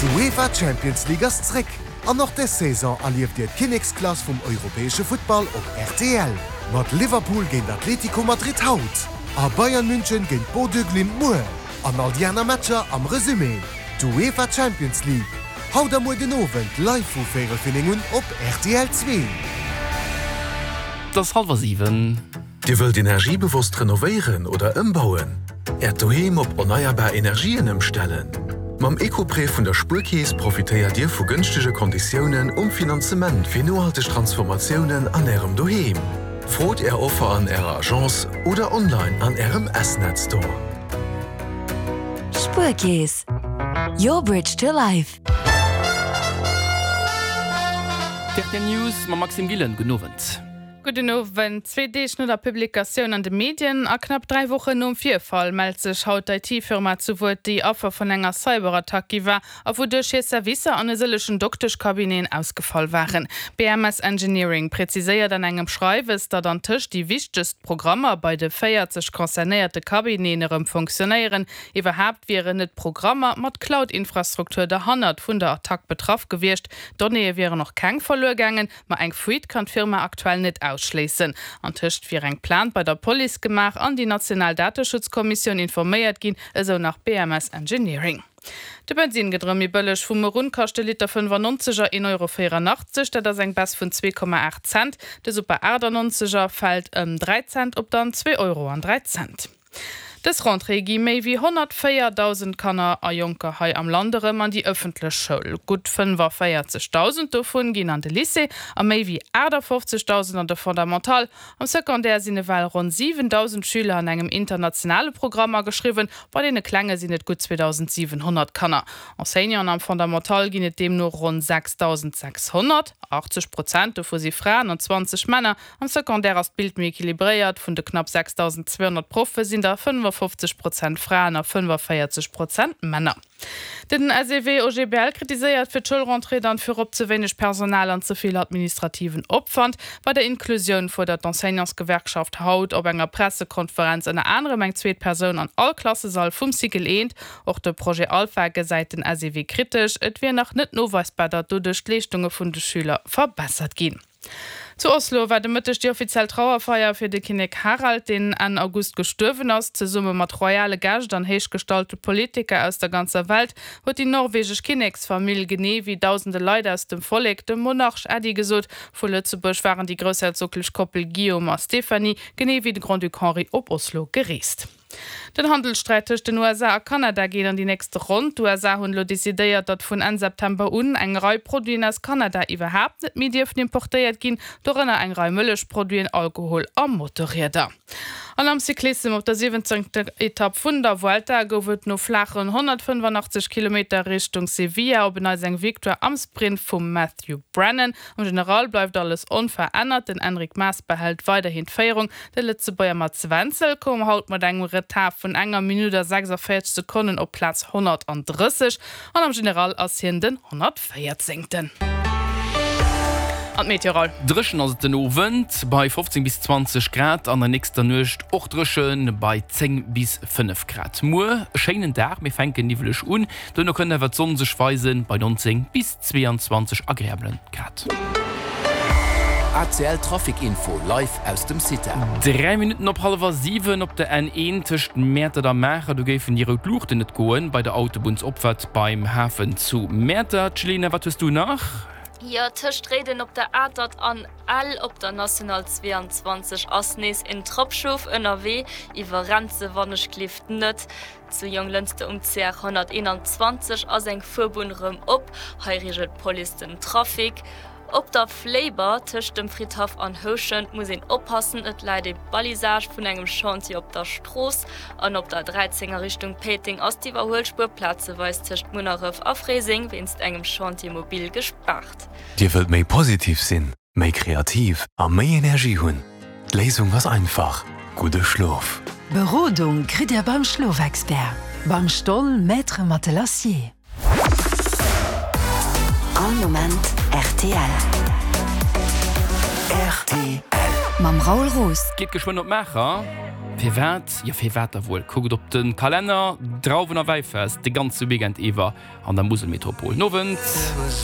D'UEFA Champions League ass zréck an och des Saison erlieft Dir d'Kinneksklass vum europäesche Futtball op rtl. Mat Liverpool géint Atlético Madrid haut a Bayern München géint Bodø Glimt muer. An all déi aner Matcher am Resumé. D'UEFA Champions League, haut a muer den Owend live vu véierel fir 9 un op rtl 2. Et ass hallwer 7. Dir wëllt energiebewosst renovéieren oder ëmbauen? Äert Doheem op erneierbar Energien ëmstellen? Mam Ecoprêt vun der Spuerkeess profitéiert Dir vu gënschtege Konditiounen um Finanzement fir nohalteg Transformatiounen an Ärem Doheem. Frot Är Offer an Ärer Agence oder online an Ärem S-Net Store. Spuerkeess, your bridge to life. D'RTL News mam Maxime Gillen. Gudden Owend. Gudden Owend. Zwee Deeg no der Publikatioun an de Medien a knapp 3 Wochen nom Virfall mellt sech haut d'IT-Firma zu Wuert, déi Affer vun enger Cyberattack gi war a wouduerch hir Servicer an e sëllechen Dokteschcabineten ausgefall waren. BMS Engineering präziséiert an engem Schreiwes, datt antëscht déi wichtegst Programmer bei de 40 concernéierte Cabineten erëm fonctionnéieren. Iwwerhaapt wieren net d'Programmer mat Cloud-Infrastruktur derhannert vun der Attack betraff gewiescht. Donnéeë wieren och keng verluer gaangen. Ma eng Fuite kann d'Firma aktuell net ausschléissen. Antëscht wier eng Plainte bei der Police gemaach an déi national Dateschutzkommissioun informéiert ginn, esou nach BMS Engineering. De Bensinn gëtt erëm méi bëlleg. Vu muer un kascht de Liter 95 er 1,84 Euro, dat ass eng Baisse vun 2,8 Cent. De Super 98 er fält ëm 3 Cent op dann 2 Euro an 3 Cent. Dës Rentrée gi méi wéi 104.000 Kanner a Jonker hei am Land erëm an déi ëffentlech Schoul. Gutt 45.000 dovun ginn an de Lycée a méi wéi 58.000 an de Fondamental. Am Secondaire sinn ewell ronn 7.000 Schüler an engem internationale Programm ageschriwwen, bei deene Klenge sinn et gutt 2.700 Kanner. Enseignanten am Fondamental ginn et deemno ronn 6.600, 80 Prozent dovu si Fraen an 20 Männer. Am Secondaire ass d'Bild méi equilibréiert, Vun de knapp 6.200 Proffe sinn der 55 Prozent Fraen a 45 Prozent Männer. Den SEW-OGBL kritiséiert fir d'Schoulrentrée dann virop ze wéineg Personal an ze vill administrativen Opwand. Bei der Inklusioun fuerdert d'Enseignantsgewerkschaft haut op enger Pressekonferenz ënner anerem eng zweet Persoun an all Klassesall vum Cycle eent. Och de Projet Alpha gesäit den SEW kritesch. Et wier nach net noweisbar, datt doduerch d'Leeschtunge vun de Schüler verbessert ginn. Zu Oslo war de Mëtteg déi offiziell Trauerfeier fir de Kinnek Harald, deen Enn August gestuerwen ass. Zesumme mat royale Gäscht an héichgestallte Politiker aus der ganzer Welt huet déi norwegesch Kinneksfamill, genee wéi dausende Leit aus dem Vollek, dem Monarch Äddi gesot. Vu Lëtzebuerg waren déi groussherzoglech Koppel Guillaume a Stéphanie, genee wéi de Grand-Duc Henri op Oslo gereest. Den Handelssträit tëscht den USA a Kanada geet an déi nächst Ronn. D'USA hunn elo decidéiert, datt vun Enn September un eng Rei Produiten aus Kanada iwwerhaapt net méi dierfen importéiert ginn, dorënner eng Rei Mëllechproduiten, Alkohol a Motorrieder. An am Cyclissem op der 17. Etapp vun der Vuelta gouf et no flaachen 185 Kilometer Richtung Sevilla op en Neits eng Victoire am Sprint vum Matthew Brennan. Am General bleift alles onverännert, den Enric Mas behält weiderhin d'Féierung. De Lëtzebuerger Mats Wenzel koum haut mat engem Retard vun enger Minutt a 46 Sekonnen op Plaz 130 an am General ass hien den 114. An d'Meteo Raoul. Dréchen ass et den Owend bei 15 bis 20 Grad, an der nächster Nuecht och dréchen bei 10 bis 5 Grad. Muer e schéinen Dag, mir fänken niwweleg un, duerno kënnt awer d'Sonn sech weisen bei 19 bis 22 agreabelen Grad. ACL Trafic Info live aus dem CITA. 3 Minutten op hallwer 7 op der N1 tëscht Mäertert a Maacher, do géifen déi rout Luuchten net goen bei der Autobunnsopfahrt beim Hafen zu Mäertert. Jelena, wat hues du nach? Jo, tëscht Réiden op der Atert an Ell op der National 22 ass nees en Trappschof ënnerwee. Iwwerrennt se wannechgelift net. Zu Jonglënster um CR 121 ass eng Fuerbunn rëm op. Hei reegelt d'Police den Trafic. Op der Fléiber tëscht dem Fridhaff an Houschent muss een oppassen, et läit ee Balisage vun engem Chantier op der Strooss. An op der 13 a Richtung Péiteng ass d'Iwwerhuelspuer plazeweis tëscht Munneref a Fréiseng wéinst engem Chantier mobil gespaart. Dir wëllt méi positiv sinn? Méi kreativ a méi Energie hunn? D'Léisung ass einfach, gudde Schlof! Berodung kritt Dir beim Schlofexpert, beim Stoll Maître Matelassier. All Moment rtl. Rtl. Mam Raoul Roos. Geet geschwënn op Maacher. Firwat? Jo firwat da wuel? Kuckt op de Kalenner, Drauwen a Wäifest de ganze Weekend iwwer an der Muselmetropol. Nowend!